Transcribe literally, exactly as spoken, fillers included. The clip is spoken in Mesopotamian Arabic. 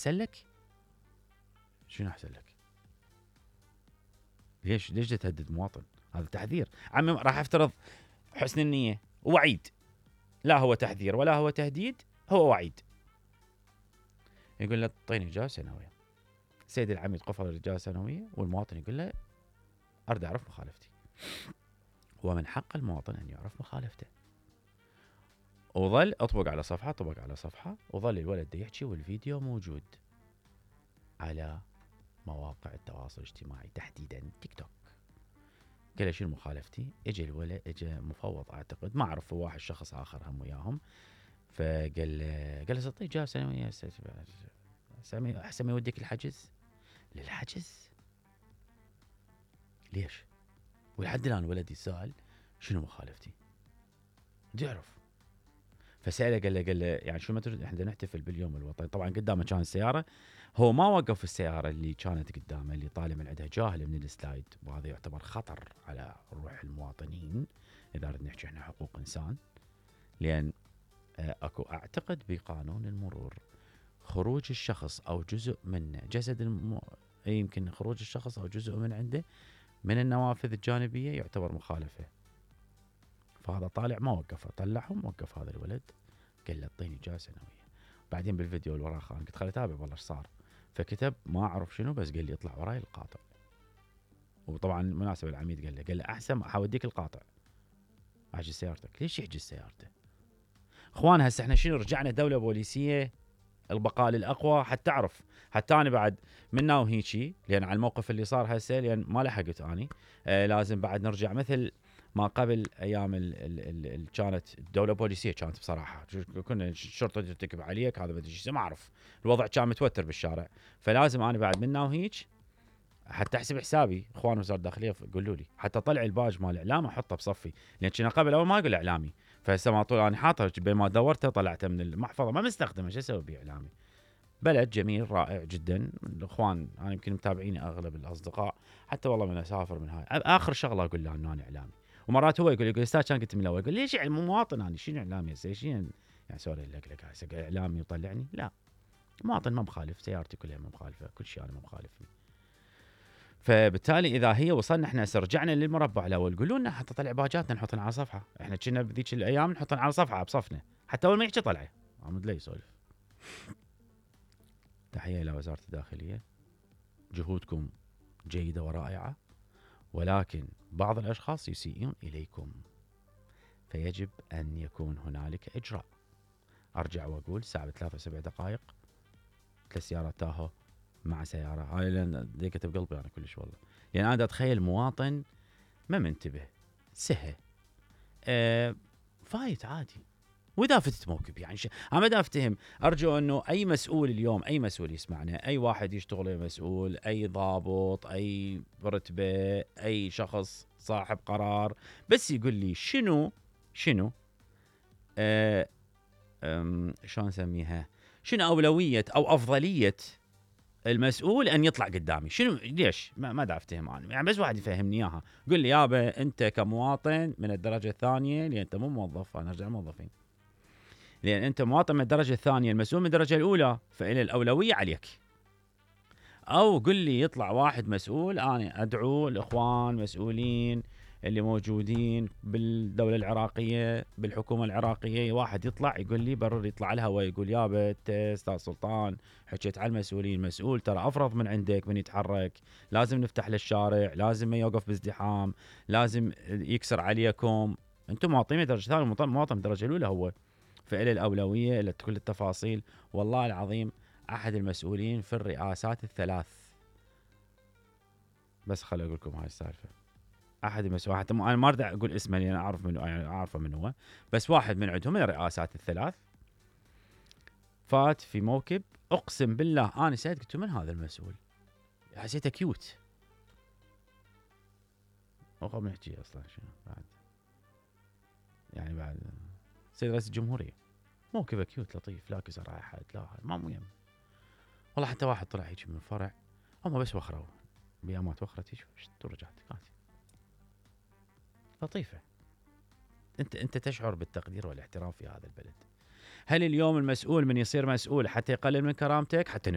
احسن لك؟ شنو احسن لك؟ ليش ليش تهدد مواطن؟ هذا تحذير. عمي راح افترض حسن النية ووعيد، لا هو تحذير ولا هو تهديد، هو وعيد. يقول له اعطيني إجازة سنوية. سيد العميد قفل الإجازة السنوية، والمواطن يقول له أريد أعرف مخالفتي. ومن حق المواطن أن يعرف مخالفته. وظل أطبق على صفحة طبق على صفحة، وظل الولد يحكي والفيديو موجود على مواقع التواصل الاجتماعي تحديدا تيك توك. قال له شنو مخالفتي؟ اجى الولد، اجى مفوض اعتقد، ما اعرف، واحد شخص اخر هم وياهم، فقال له قال له تعطيه إجازة سنوية سامي احسن ما يوديك الحجز. للحجز؟ ليش؟ ولحد الان الولد يسأل شنو مخالفتي؟ بدي يعرف. فسأله قال له قال له يعني شو ما تريد، احنا نحتفل باليوم الوطني. طبعا قدامه كان السيارة، هو ما وقف السيارة اللي كانت قدامه اللي طالع من عندها جاهل من السلايد، وهذا يعتبر خطر على روح المواطنين اذا ردنا نحكي احنا حقوق انسان. لان اكو اعتقد بقانون المرور خروج الشخص او جزء منه جسد الم... يمكن خروج الشخص او جزء من عنده من النوافذ الجانبية يعتبر مخالفة. فهذا طالع ما وقفه، طلعهم وقف هذا الولد، قال له اعطيني إجازة سنوية. بعدين بالفيديو اللي وراه خان قلت خلي اتابع والله ايش صار، فكتب ما اعرف شنو، بس قال لي اطلع وراي القاطع. وطبعا مناسب العميد قال له قال له احسن حوديك القاطع، احجز سيارتك. ليش يحجز سيارته؟ اخوان هسه احنا شنو رجعنا دولة بوليسية، البقاء للاقوى. حتى تعرف حتى انا بعد منا وهيجي، لان على الموقف اللي صار هسه، لان ما لحقت اني آه لازم بعد نرجع مثل ما قبل ايام ال ال ال كانت الدوله بوليسيه. كانت بصراحه كنا الشرطه ترتكب عليك هذا بدي شيء ما اعرف، الوضع كان متوتر بالشارع. فلازم انا بعد منا وهيج حتى احسب حسابي. اخوان وزاره الداخليه قولوا لي حتى طلع الباج مال الاعلام احطه بصفي، لان كنا قبل اول ما اقول اعلامي، فهسه ما طول انا حاطه بين ما دورته طلعته من المحفظه ما مستخدمه، شو اسوي بيه اعلامي؟ بلد جميل رائع جدا. الاخوان انا يمكن متابعيني اغلب الاصدقاء، حتى والله من اسافر من هاي اخر شغله اقول له انه انا اعلامي. ومرات هو يقول يقول استاذ كان قلت من الاول، يقول ليش يعني مواطن انا شنو اعلامي هسه شنو يعني سوري لك لك هسه اعلامي وطلعني؟ لا، مواطن ما مخالف، سيارتي كلها ما مخالفه، كل شيء انا ما مخالفني. فبالتالي اذا هي وصلنا احنا رجعنا للمربع الاول، قولوا لنا حتى طلع باجاتنا نحطها على صفحه. احنا كنا بذيك الايام نحطها على صفحه بصفنا، حتى اول ما يحكي طلعه عمود لي يسولف. تحيه الى وزاره الداخليه، جهودكم جيده ورائعه، ولكن بعض الاشخاص يسيئون اليكم، فيجب ان يكون هنالك اجراء. ارجع واقول ساعه بثلاث وسبع دقائق ثلاث سيارات تاهو مع سياره، هاي لان ضيقت بقلبي انا كلش والله. يعني انا اتخيل مواطن ما منتبه سهى أه فايت عادي، واذا فتت موكب يعني ش... انا ما افتهم. ارجو انه اي مسؤول اليوم، اي مسؤول يسمعنا، اي واحد يشتغل مسؤول، اي ضابط، اي رتبه، اي شخص صاحب قرار، بس يقول لي شنو شنو أه شلون نسميها، شنو اولويه او افضليه المسؤول ان يطلع قدامي، شنو ليش ما ما دا افتهم انا يعني. بس واحد يفهمني اياها، قل لي يابا انت كمواطن من الدرجه الثانيه، لان انت مو موظف، انا ارجع موظفين، لان انت مواطن من الدرجه الثانيه، المسؤول من الدرجه الاولى، فإلى الاولويه عليك. او قل لي يطلع واحد مسؤول، انا ادعو الاخوان مسؤولين اللي موجودين بالدوله العراقيه بالحكومه العراقيه، واحد يطلع يقول لي برر، يطلع الهواء يقول يابا انت استاذ سلطان حكيت على المسؤولين، مسؤول ترى افرض من عندك من يتحرك، لازم نفتح للشارع، لازم ما يوقف بازدحام، لازم يكسر عليكم، انتم مواطنين درجه ثانيه، مواطن الدرجه الاولى هو، فإلى الاولويه الى كل التفاصيل. والله العظيم احد المسؤولين في الرئاسات الثلاث، بس خليني اقول لكم هاي السالفه، احد المسؤولين حتى انا ما اريد اقول اسمه لان اعرف منه، يعني اعرفه من هو، بس واحد من عندهم من الرئاسات الثلاث فات في موكب، اقسم بالله انا سألت قلت من هذا المسؤول، حسيته كيوت. وخا بنحكي اصلا شنو بعد، يعني بعد سيد رئيس الجمهوريه موكبه كيوت لطيف، لا كسر على احد، لا ما مهم والله. حتى واحد طلع هيك من فرع، هم بس وخروا بيامات وخرت هيك ورجعت كانت لطيفه. انت انت تشعر بالتقدير والاحترام في هذا البلد. هل اليوم المسؤول من يصير مسؤول حتى يقلل من كرامتك، حتى